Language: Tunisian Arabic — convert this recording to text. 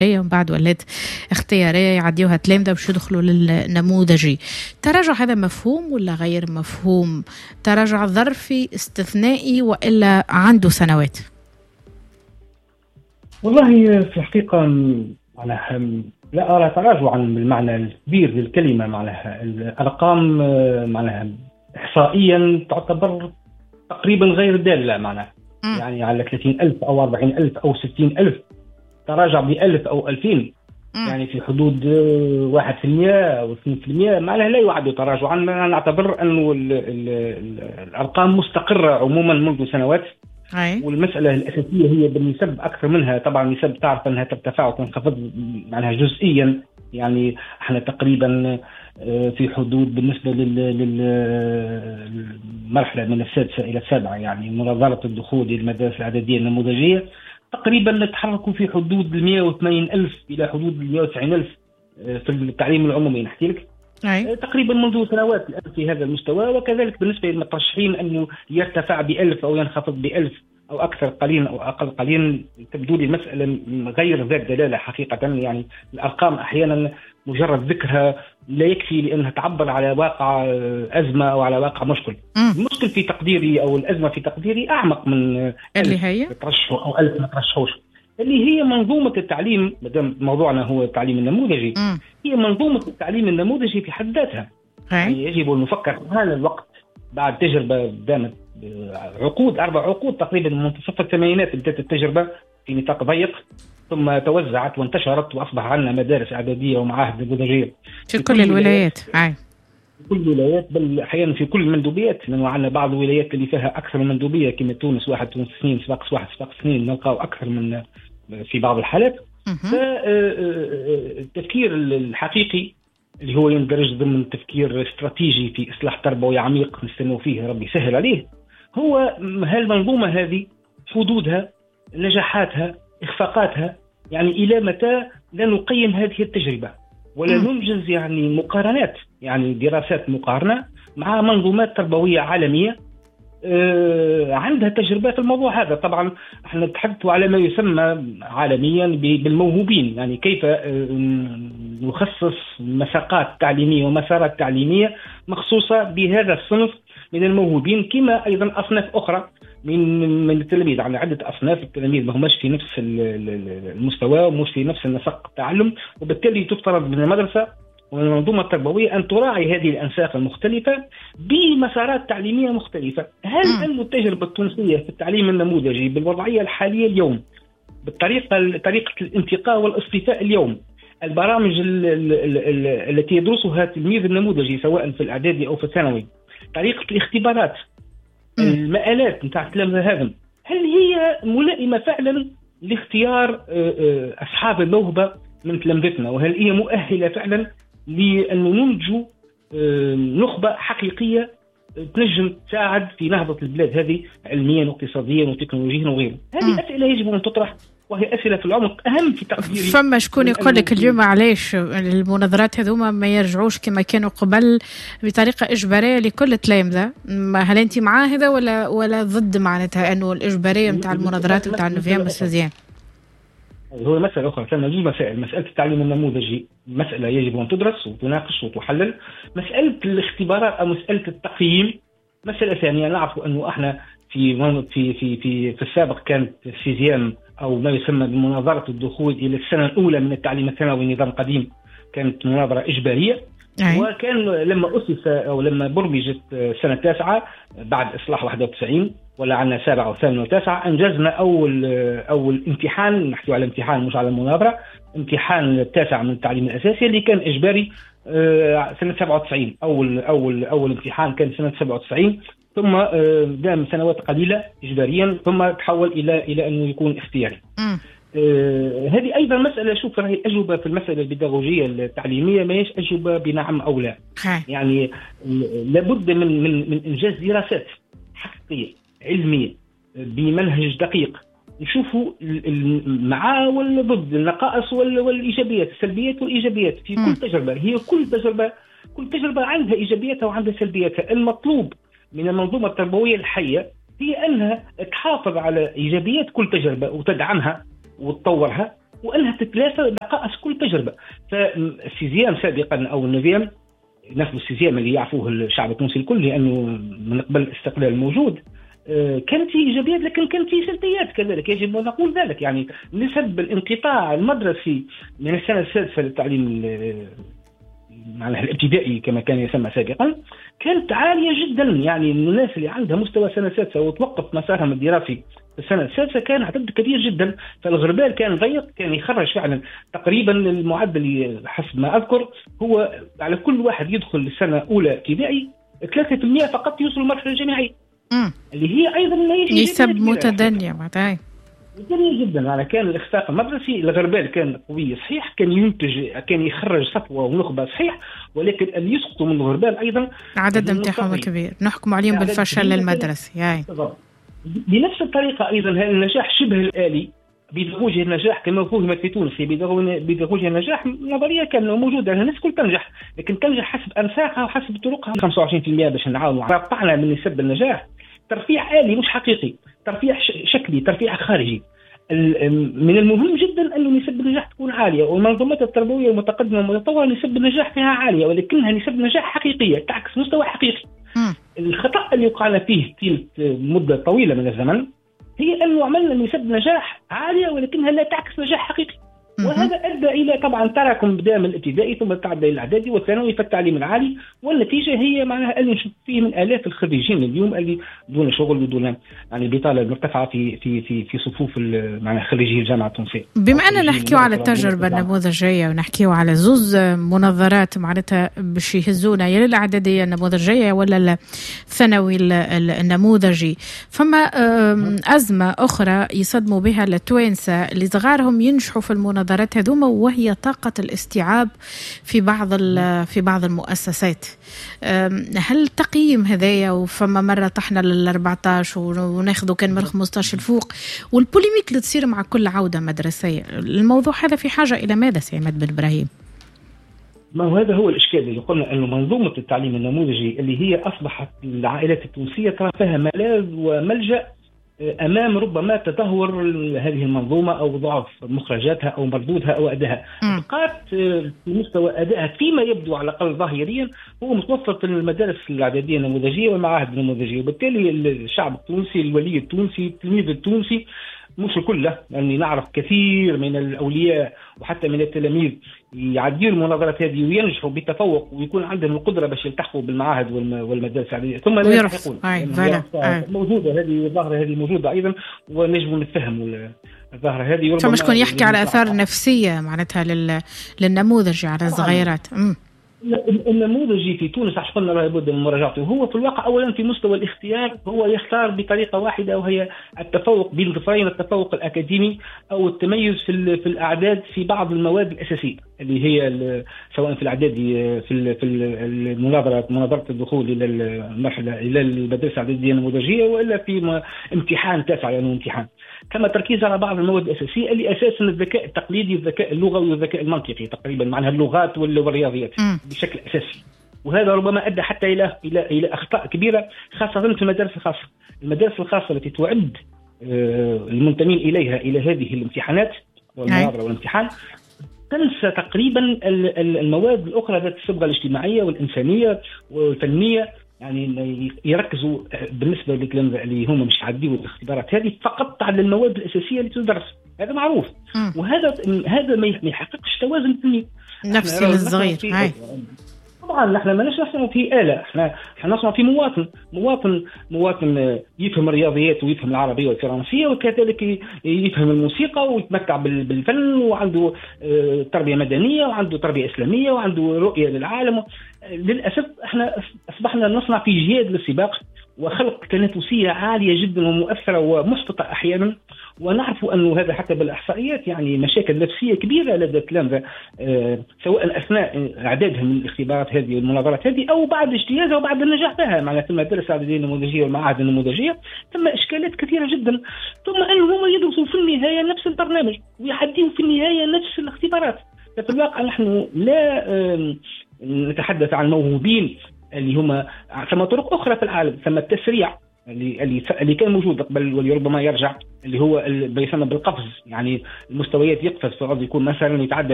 ومن بعد ولات اختيارية يعديوها تلامذه باش يدخلوا للنموذجي. التراجع هذا مفهوم ولا غير مفهوم؟ تراجع ظرفي استثنائي والا عنده سنوات؟ والله في الحقيقة معناها لا ارى تراجعا بالمعنى الكبير للكلمة، معناها الارقام معناها احصائيا تعتبر تقريبا غير داله، معناها يعني على 30,000 او 40,000 او 60,000 تراجع ب 1000 او 2000 يعني في حدود 1% او 2%، معناها لا يعد تراجعا. نعتبر انه الارقام مستقره عموما منذ سنوات. والمسألة الأساسية هي بالنسب أكثر منها، طبعا النسب تعرف أنها ترتفع وتنخفض معناها جزئيا، يعني احنا تقريبا في حدود بالنسبة للمرحلة من السادسة إلى السابعة، يعني مناظرة الدخول للمدارس الإعدادية النموذجية، تقريبا نتحرك في حدود 180,000 إلى حدود 190,000 في التعليم العمومي نحكي لك. تقريبا منذ سنوات الآن في هذا المستوى. وكذلك بالنسبة للمترشحين أنه يرتفع ب 1000 أو ينخفض ب 1000 أو أكثر قليلا أو أقل قليلا، تبدو لي المسألة غير ذات دلالة حقيقة. يعني الأرقام أحيانا مجرد ذكرها لا يكفي لأنها تعبر على واقع أزمة أو على واقع مشكل. المشكل في تقديري أو الأزمة في تقديري أعمق من اللي هي ترشحوا أو 1000 ما ترشحوش، اللي هي منظومة التعليم. مادام موضوعنا هو التعليم النموذجي، هي منظومة التعليم النموذجي في حد ذاتها. يعني يجب أن نفكر في هذا الوقت بعد تجربة دامت عقود، 4 عقود تقريبا، من منتصف الثمانينات بدأت التجربة في نطاق ضيق، ثم توزعت وانتشرت وأصبح عندنا مدارس إعدادية ومعاهد نموذجية في كل الولايات. في كل الولايات، بل أحيانا في كل المندوبيات، لأنه عندنا بعض الولايات اللي فيها أكثر من مندوبية كما تونس 1، تونس 2، صفاقس 1، صفاقس 2، نلقاو أكثر من في بعض الحالات. فالتفكير الحقيقي اللي هو يندرج ضمن تفكير استراتيجي في إصلاح تربوي عميق نستنوا فيه ربي يسهل عليه، هو هالمنظومة هذه حدودها، نجاحاتها، إخفاقاتها، يعني إلى متى لا نقيم هذه التجربة ولا ننجز يعني مقارنات، يعني دراسات مقارنة مع منظومات تربوية عالمية عندها تجربة في الموضوع هذا. طبعا احنا نتحدث على ما يسمى عالميا بالموهوبين، يعني كيف نخصص مساقات تعليمية ومسارات تعليمية مخصوصة بهذا الصنف من الموهوبين، كما أيضا أصناف أخرى من التلاميذ. عندنا عدة أصناف التلاميذ ما هماش في نفس المستوى ومش في نفس النسق التعلم، وبالتالي تفترض من المدرسة ومن المنظومة التربوية أن تراعي هذه الأنساق المختلفة بمسارات تعليمية مختلفة. هل أن التجربة التونسية في التعليم النموذجي بالوضعية الحالية اليوم، بالطريقة طريقة الانتقاء والاصطفاء اليوم، البرامج التي يدرسها التلميذ النموذجي سواء في الإعدادي أو في الثانوي، طريقة الاختبارات، المآلات نتاع التلامذة هذا، هل هي ملائمة فعلا لاختيار أصحاب الموهبة من تلامذتنا؟ وهل هي مؤهلة فعلا لأنه ننتج نخبة حقيقية تنجم تساعد في نهضة البلاد هذه علميا واقتصاديا وتكنولوجيا وغيره؟ هذه أسئلة يجب أن تطرح، وهي أسئلة في العمق أهم في تقديري. فما شكون يقول لك اليوم علاش المناظرات هذوما ما يرجعوش كما كانوا قبل بطريقة إجبارية لكل التلامذة؟ هل أنت مع هذا ولا ضد معناتها أنه الإجبارية نتاع المناظرات نتاع ال neuvième وال sixième؟ هو مسألة أخرى، ثم زوج مسائل. مسألة التعليم النموذجي مسألة يجب أن تدرس وتناقش وتحلل. مسألة الاختبارات أو مسألة التقييم مسألة ثانية. نعرف أنه احنا في في في في, في السابق كانت ال sixième أو ما يسمى بمناظرة الدخول إلى السنة الأولى من التعليم الثانوي النظام القديم كانت مناظرة إجبارية. وكان لما أسس أو لما برمجت السنة التاسعة بعد إصلاح 91 ولا عندنا 7 و8 و9، أنجزنا أول امتحان، نحكي على امتحان مش على المناظرة، امتحان التاسع من التعليم الأساسي اللي كان إجباري سنة 97. أول امتحان كان سنة 97، ثم دام سنوات قليلة إجباريا، ثم تحول إلى أنه يكون اختياري. هذه أيضا مسألة، شوف راهي الأجوبة في المسألة البيداغوجية التعليمية ما هيش أجوبة بنعم أو لا. يعني لابد من من من إنجاز دراسات حقيقية علمية بمنهج دقيق، نشوفوا مع ولا ضد، النقائص والإيجابيات، السلبيات والإيجابيات في كل تجربة. هي كل تجربة عندها إيجابياتها وعندها سلبياتها. المطلوب من المنظومة التربوية الحية هي أنها تحافظ على إيجابيات كل تجربة وتدعمها وتطورها، وانها تتلافى نقائص كل تجربه. فال sixième سابقا او ال neuvième، ناخذ ال sixième اللي يعرفوه الشعب التونسي الكل لانه من قبل الاستقلال موجود، كانت فيه ايجابيات لكن كانت فيه سلبيات كذلك، يجب ان نقول ذلك. يعني نسب الانقطاع المدرسي من السنة السادسة للتعليم معناها الابتدائي كما كان يسمى سابقا كانت عالية جدا. يعني الناس اللي عندها مستوى سنة سادسة وتوقف مسارهم الدراسي في السنة السادسة كان عدد كبير جدا. فالغربال كان ضيق، كان يخرج فعلا تقريبا المعدل حسب ما اذكر هو على كل واحد يدخل السنة الاولى ابتدائي 3% فقط يوصل المرحلة الجامعية، اللي هي ايضا نسب متدنيه معناتها متدنيه جدا. يعني كان الاخفاق المدرسي، الغربال كان قوي صحيح، كان ينتج، كان يخرج صفوه ونخبه صحيح، ولكن اللي يسقطوا من الغربال ايضا العدد نتاعهم كبير، نحكم عليهم بالفشل المدرسي. بنفس الطريقة ايضا النجاح شبه الالي، بيداغوجيا النجاح كما فهمت في تونس، بيداغوجيا النجاح نظرية كان موجودة، الناس الكل تنجح، لكن تنجح حسب انساقها وحسب طرقها. 25% باش نعاونوا رفعنا من نسب النجاح، ترفيع آلي مش حقيقي، ترفيع شكلي، ترفيع خارجي. من المهم جدا أن نسب النجاح تكون عالية، والمنظومات التربوية المتقدمة والمتطورة نسب النجاح فيها عالية، ولكنها نسب نجاح حقيقية تعكس مستوى حقيقي. الخطأ اللي وقعنا فيه طيلة مدة طويلة من الزمن هي أنه عملنا نسب نجاح عالية ولكنها لا تعكس نجاح حقيقي، وهذا أدى إلى طبعا تراكم بدأ من الابتدائي ثم تعدى إلى الإعدادي والثانوي في التعليم العالي، والنتيجة هي معناها اللي نشوف فيه من آلاف الخريجين اليوم اللي دون شغل ودون يعني البطالة المرتفعة في في في في صفوف معناها خريجي الجامعة التونسية. بما أننا نحكيو على التجربة النموذجية ونحكيو على زوز مناظرات معناتها باش يهزونا يا للإعدادية النموذجية ولا الثانوي النموذجي، فما أزمة أخرى يصدموا بها التوانسة اللي صغارهم ينجحوا في المناظرات هذوما، وهي طاقة الاستيعاب في بعض المؤسسات. هل تقييم هذايا؟ وفما مرة طحنا لل 14 وناخذوا كان من 15 الفوق، وال polémique اللي تصير مع كل عودة مدرسية، الموضوع هذا في حاجة إلى ماذا سي عماد بن إبراهيم؟ ما هو هذا هو الإشكال اللي قلنا أنه منظومة التعليم النموذجي اللي هي أصبحت العائلات التونسية ترى فيها ملاذ وملجأ أمام ربما تدهور هذه المنظومة أو ضعف مخرجاتها أو مردودها أو أدائها. بقات في مستوى أدائها فيما يبدو على الأقل ظاهريا هو متوسط في المدارس الإعدادية النموذجية والمعاهد النموذجية، وبالتالي الشعب التونسي، الولي التونسي، التلميذ التونسي، مش الكل، لأني نعرف كثير من الأولياء وحتى من التلاميذ يعديوا المناظرات هذه وينجحوا بتفوق ويكون عندهم القدرة باش يلتحقوا بالمعاهد والمدارس العادية ثم لا يلتحقون. موجودة هذه الظاهرة، هذه موجودة أيضا ونجم نتفهم الظاهرة هذه. فما شكون يحكي على آثار نفسية معناتها للنموذج على الصغيرات. النموذجي في تونس عشان قلنا لابد من مراجعته، هو في الواقع اولا في مستوى الاختيار هو يختار بطريقة واحدة وهي التفوق بين ظفرين، التفوق الاكاديمي او التميز في الاعداد في بعض المواد الاساسية اللي هي سواء في الاعدادي في المناظرة، مناظرة الدخول الى المرحلة الى المدرسة الاعدادية النموذجيه، والا في امتحان تاسع لانه امتحان. كما تركيز على بعض المواد الاساسية اللي اساسا الذكاء التقليدي، الذكاء اللغوي والذكاء المنطقي تقريبا، معناها اللغات والرياضيات بشكل اساسي، وهذا ربما ادى حتى الى الى الى اخطاء كبيرة خاصة في المدارس الخاصة. المدارس الخاصة التي تعد المنتمين اليها الى هذه الامتحانات والمناظرة والامتحان تنسى تقريبا المواد الاخرى ذات الصبغه الاجتماعية والانسانية والفنية. يعني يركزوا بالنسبة للتلامذه اللي هم مش يعديوا الاختبارات هذه فقط على المواد الاساسية اللي تدرس، هذا معروف. وهذا ما يحققش توازن فني نفسي للصغير. طبعا نحن ما نصنع في آلة، احنا نصنع في مواطن، مواطن يفهم الرياضيات ويفهم العربية والفرنسية وكذلك يفهم الموسيقى ويتمتع بالفن وعنده تربية مدنية وعنده تربية إسلامية وعنده رؤية للعالم. للأسف احنا أصبحنا نصنع في جهاد للسباق وخلق تنافسية عالية جدا ومؤثرة ومحبطة أحيانا، ونعرف أنه هذا حتى بالإحصائيات يعني مشاكل نفسية كبيرة لدى التلامذة سواء أثناء إعدادهم للاختبارات هذه والمناظرات هذه أو بعد اجتيازها وبعد النجاح بها. معناها في المدارس الإعدادية النموذجية والمعاهد النموذجية ثم إشكالات كثيرة جدا، ثم أنهم هم يدرسوا في النهاية نفس البرنامج ويعديوا في النهاية نفس الاختبارات. ففي الواقع نحن لا نتحدث عن موهوبين اللي هم، ثم طرق أخرى في العالم، ثم التسريع، اللي كان موجود قبل واللي ربما يرجع، اللي هو ما يسمى بالقفز، يعني المستويات يقفز، فعوض يكون مثلا يتعدى